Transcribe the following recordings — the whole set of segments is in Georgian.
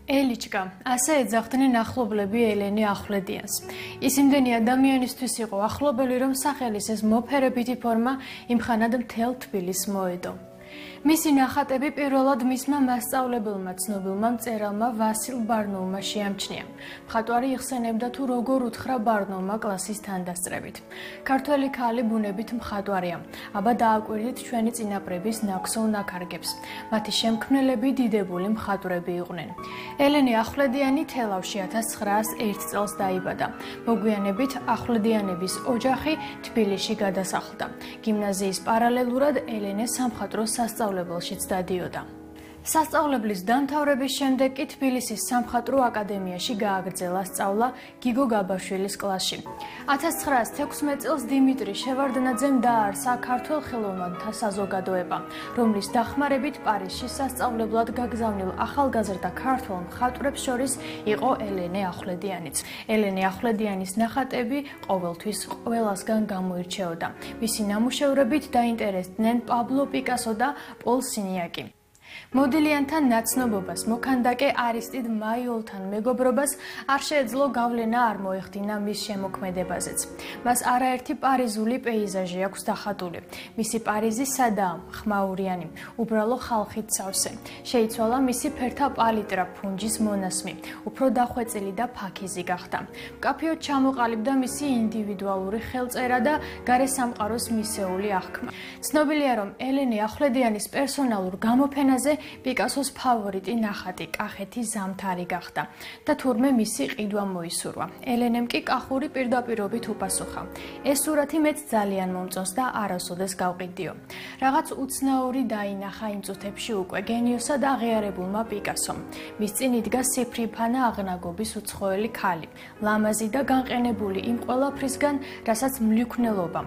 ელიჩკა, ასე ეძახდნენ ახლობლები ელენე ახვლედიანს. ის იმდენი ადამიანისთვის იყო ახლობელი, რომ სახელის ეს მოფერებითი ფორმა იმხანად მთელ თბილისს მოედო. მისი ნახატები პირველად მისმა მასწავლებელმა ცნობილმა მწერალმა ვასილ ბარნოულმა შეამჩნია. მხატვარი იხსენებდა თუ როგორ უთხრა ბარნოულმა კლასის თანდასწრებით. ქართველი ქალი ბუნებით მხატვარია, აბა დააკვირდით ჩვენი წინაპრების ნაქსოვ ნაქარგებს. მათი შემქმნელები დიდებული მხატვრები იყვნენ. ელენე ახვლედიანი თელავში 1901 წელს დაიბადა. მოგვიანებით ახვლედიანების ოჯახი თბილისში გადასახლდა. გიმნაზიის პარალელურად ელენე სამხატვრო სასწავლებელშიც დადიოდა. სასწავლებლის დამთავრების შემდეგ კი თბილისის სამხატვრო აკადემიაში გააგრძელა სწავლა გიგო გაბაშვილის კლასში. 1916 წელს დიმიტრი შევარდნაძემ დააარსა ქართველ ხელოვნებათა საზოგადოება, რომლის დახმარებით პარიზში სასწავლებლად გაგზავნილ ახალგაზრდა ქართველ მხატვრებს შორის იყო ელენე ახვლედიანიც. ელენე ახვლედიანის ნახატები ყოველთვის ყველასგან გამოირჩეოდა. მისი ნამუშევრებით დაინტერესდნენ პაბლო პიკასო და პოლ სინიაკი. მოდილიანთან ნაცნობობას, მოქანდაკე არისტიდ მაიოლთან მეგობრობას არ შეეძლო გავლენა არ მოეხდინა მის შემოქმედებაზეც. მას არაერთი პარიზული პეიზაჟი აქვს დახატული. მისი პარიზი სადაა, ხმაურიანი, უბრალო ხალხით სავსე. შეიცვალა მისი ფერთა პალიტრა, ფუნჯის მონასმი, უფრო დახვეწილი და ფაქიზი გახდა. მკაფიოდ ჩამოყალიბდა მისი ინდივიდუალური ხელწერა და გარესამყაროს მისეული აღქმა. ცნობილია, რომ ელენე ახვლედიანის პერსონალურ გამოფენაზე პიკასოს ფავორიტი ნახატი კახეთი ზამთარი გახდა და თურმე მისი ყიდვა მოისურვა. ელენემ კი კახური პირდაპირობით უპასუხა. ეს სურათი მეც ძალიან მომწონს და არასოდეს გავყიდიო. რაღაც უცნაური დაინახა იმ წუთებში უკვე გენიოსად აღიარებულმა პიკასომ. მის წინ იდგა სიფრიფანა აღნაგობის უცხოელი ქალი, ლამაზი და განყენებული იმ ყველაფრისგან, რასაც მლიქვნელობა,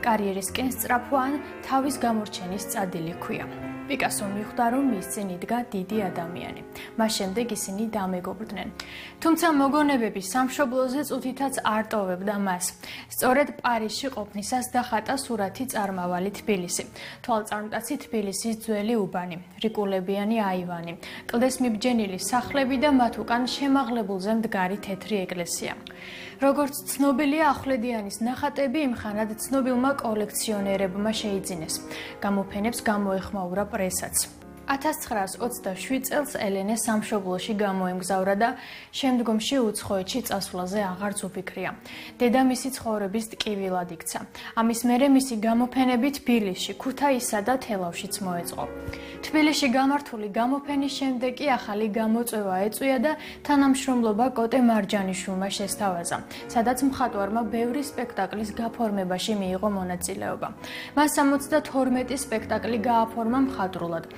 კარიერისკენ სწრაფვა ან თავის გამორჩენის წადილი ჰქვია. პიკასო მიხვდა, რომ მის წინ იდგა დიდი ადამიანი. მას შემდეგ ისინი დამეგობრდნენ. თუმცა მოგონებები სამშობლოზე წუთითაც არ ტოვებდა მას. სწორედ პარიზში ყოფნისას დახატა სურათი წარმავალი თბილისი. თვალწარმტაცი თბილისის ძველი უბანი, რიკულებიანი აივანი, კლდეს მიბჯენილი სახლები და მათ უკან შემაღლებულზე მდგარი თეთრი ეკლესია. როგორც ცნობილია, ახვლედიანის ნახატები იმხანად ცნობილმა კოლექციონერებმა შეიძინეს. გამოფენებს გამოეხმაურა პრესაც. 1927 წელს ელენე სამშობლოში გამოემგზავრა და შემდგომში უცხოეთში წასვლაზე აღარც უფიქრია. დედა მისი ცხოვრების ტკივილად იქცა. ამის მერე მისი გამოფენები თბილისში, ქუთაისსა და თელავშიც მოეწყო. თბილისში გამართული გამოფენის შემდეგ კი ახალი გამოწვევა ეწვია და თანამშრომლობა კოტე მარჯანიშვილმა შესთავაზა, სადაც მხატვარმა ბევრი სპექტაკლის გაფორმებაში მიიღო მონაწილეობა. მას 72 სპექტაკლი გააფორმა მხატვრულად,